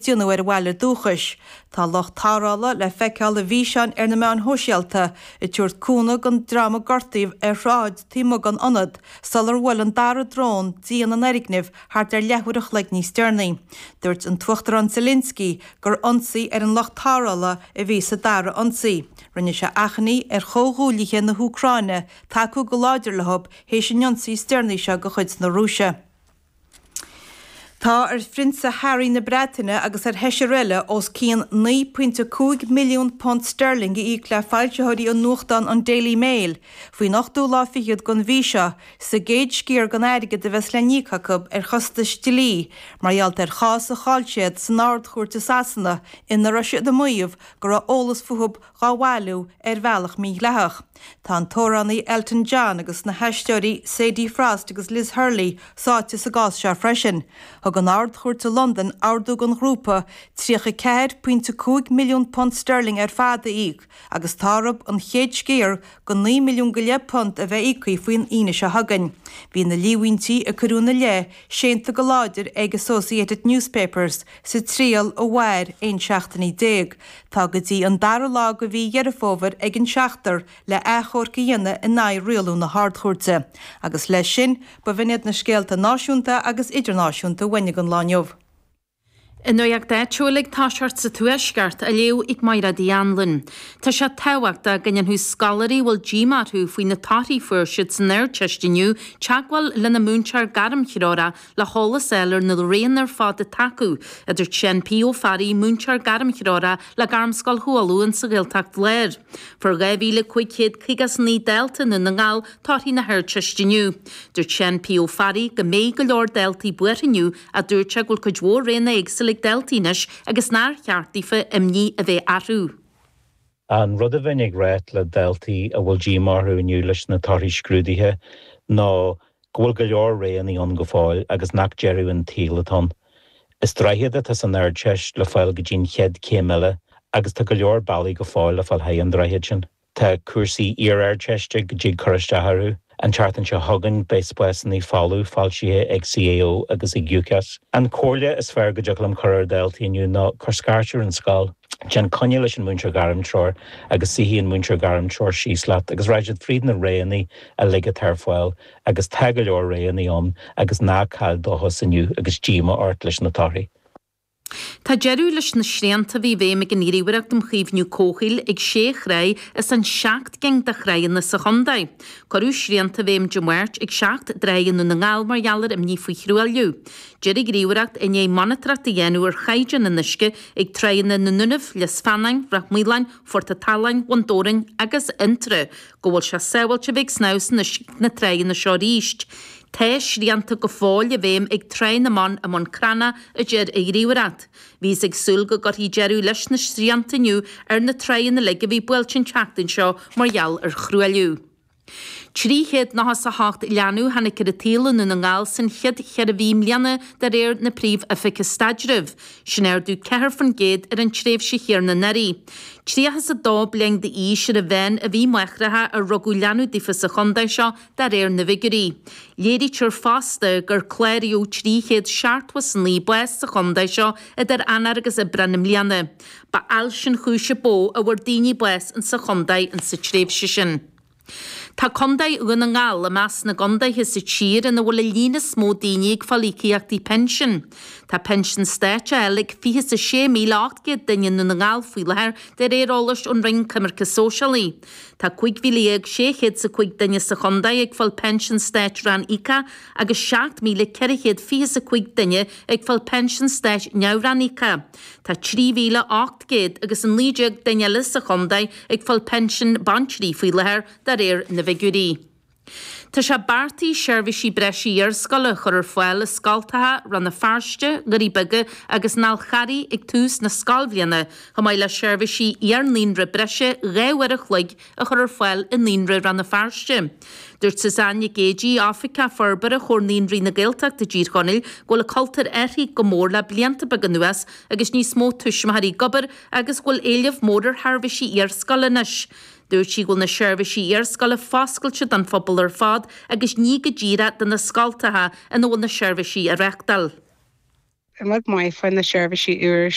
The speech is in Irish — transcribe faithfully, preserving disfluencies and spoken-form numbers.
déanamh ar a bhaile dúchais. Tá lucht tarrthála le feiceáil i bhfíseáin ar na meáin shóisialta ag tabhairt cúnamh don dream a gortaíodh ar shráid taobh amuigh den ionad sular bhuail an dara drón díon an fhoirgnimh thart ar leathuair a chloig níos deireanaí. Dúirt an tUachtarán Zelensky gur ionsaí ar an lucht tarrthála a bhí sa dara ionsaí. Rinne sé achainí ar chomhghuaillithe na hÚcráine tacú go láidir leo théis an ionsaí is deireanaí seo de chuid na Rúise. Tá ar Phrionsa Harry na Breataine agus ar sheisear eile os cionn naoi pointe cúig milliún punt sterling a íoc le foilsitheoirí an nuachtáin an Daily Mail faoin ochtú lá fichead den mhí seo sa gcéad sciar den airgead a bheas le n-íoc acu ar chostais dlí mar gheall ar chás a chaill siad san Ard-Chúirt i Sasana ina raibh siad ag maíomh go raibh eolas fúthu dhá bhailiú ar bhealach mídhleathach. Tá an t-amhránaí Elton John agus na haisteoirí Sadie Frost agus Liz Hurley sáite sa gcás seo freisin. Thug an Ard-Chúirt i Londain ordú don ghrúpa tríocha ceathair pointe cúig milliún punt sterling ar fad a íoc agus tá orthu an chéad sciar de naoi milliún go leith punt a bheith íoctha faoin Aoine seo chugainn. Bhí na líomhaintí a cuireadh ina leith séanta go láidir ag Associated Newspapers sa triail a mhair aon seachtainí déag. Tá go dtí an dara lá de mhí Dheireadh Fómhair ag an seachtar le achomharc a dhéanamh in aghaidh rialú na hArd-Chúirte. Agus leis sin, ba bh'in iad na scéalta náisiúnta agus idirnáisiúnta a bhain an lá inniu. An nuacht áitiúil ag toiseacht sa Tuaisceart á léamh ag Máire Uí Anluain. Tá sé tábhachtach go ndéanfadh scoláirí a bhfuil díomá orthu faoi na torthaí a fuair siad san Ardteist inniu teagmháil lena múinteoir gairmthreorach le heolas a fháil ar na roghanna ar fad atá acu, a dúirt Seán P. Ó Fearraigh, múinteoir gairmthreorach le Gairmscoil Chualann sa Ghaeltacht Láir. Fuair dhá mhíle cúig chéad caoga is naoi dalta i nDún na nGall torthaí na hArdteiste inniu. Dúirt Seán P. Ó Fearraigh go mbeidh go leor daltaí buartha inniu ach dúirt sé go bhfuil cuid mhór roghanna éagsúla ag daltaí anois agus nár cheart daofa imní a bheith orthu. An rud a bheinn ag rá le daltaí a bhfuil díomá orthu inniu leis na torthaí scrúdaithe ná go bhfuil go leor roghanna ann go fóill agus nach deireadh an tsaoil atá ann. Is droichead atá san Ardteist le fáil go dtí'n chéad chéim eile agus tá go leor bealaí go fóill le fáil thar an droichead sin. Tá cúrsaí iar-Ardteiste go dtig cur isteach orthu. An tseachtain seo chugainn beidh spásanna folamh foilsithe ag CAO agus ag UCAS. An chomhairle is fearr go dtig liom cur ar dhaltaí inniu ná cuir scairt ar an scoil. Déan coinne leis an múinteoir gairmthreorach agus suífidh an múinteoir gairmthreorach síos leat agus raghaidh siad fríd na roghanna uilig atá ar fáil agus tá go leor roghanna ann agus ná caill dóchas inniu agus díomá ort leis na torthaí. Tá deireadh leis na srianta a bhí i bhfeidhm ag an Ghníomhaireacht um Chaomhnú Comhshaoil ag sé thrá as an seacht gcinn de thránna sa chontae. Cuireadh srianta i bhfeidhm Dé Máirt ag seacht dtrá i nDún na nGall mar gheall ar imní faoi thruailliú. Deir an Ghníomhaireacht i ndiaidh monatóireacht a dhéanamh ar chaighdeán an uisce ag tránna na nDúnaibh, Lios Feanáin, Ráth Maoláin, Phort an tSaláin, Bhun Dobhráin agus Fhionntrá go bhfuil sé sábháilte a bheith ag snámh san uisce ag na tránna seo arís. Tá srianta go fóill i bhfeidhm ag Trá na mBan i mBun Cranncha, a deir an Ghníomhaireacht. Bhíothas ag súil go gcuirfí deireadh leis na srianta inniu ar na tránna uilig a bhí buailte an tseachtain seo mar gheall ar thruailliú. Trí chéad nócha is a hocht leanbh a tháinig ar an tsaol i nDún na nGall san chéad cheithre mhí i mbliana de réir na Príomh-Oifige Staidrimh. Sin ardú ceathair faoin gcéad ar an tréimhse chéanna anuraidh. Tríocha is a dó bliain d'aois ar an mheán a bhí máithreacha ar rugadh leanbh daofa sa chontae seo de réir na bhfigiúirí. Léirítear fosta gur cláraíodh trí chéad seachtó is a naoi bás sa chontae seo idir Eanáir agus Aibreán i mbliana. Ba ailse an chúis ba mhó a bhfuair daoine bás insa chontae insa tréimhse sin. Tá Contae Dhún na nGall i measc na gcontaetha sa tír ina bhfuil an líon is mó daoine ag fáil íocaíochtaí pinsin. Tá pinsean stáit á fháil ag fiche is a sé míle ocht gcéad duine i nDún na nGall faoi láthair de réir eolais ón Roinn Coimirce Sóisialaí. Tá cúig mhíle dhéag sé chéad is a cúig duine sa chontae ag fáil pinsean stáit ranníocach agus seacht míle ceithre chéad fiche is a cúig duine ag fáil pinsean stáit neamhranníocach. Tá trí mhíle ocht gcéad agus a naoi déag duine eile sa chontae ag fáil pinsean baintrí faoi láthair de réir na bhfigiúirí. Tá sé beartaithe seirbhísí breise iarscoile a chur ar fáil i Scoltacha Rann na Feirste, Doirí Beaga agus an Fhál Charraigh ag tús na scoilbhliana, chomh maith le seirbhísí iar-naíonra breise dhá uair a chloig a chur ar fáil i Naíonra Rann na Feirste. Dúirt Suzanne Nic Géidigh, Oifigeach Forbartha Chomhar Naíonraí na Gaeltachta i dTír Chonaill, go bhfuil an cultúr athraithe go mór le blianta beaga anuas agus níos mó tuismitheoirí ag obair agus go bhfuil éileamh mór ar sheirbhísí iarscoile anois. Dúirt sí go bhfuil na seirbhísí iarscoile foscailte don phobal ar fad agus ní go díreach do na scoltacha ina bhfuil na seirbhísí á reáchtáil. rud maith faoi na seirbhísí úr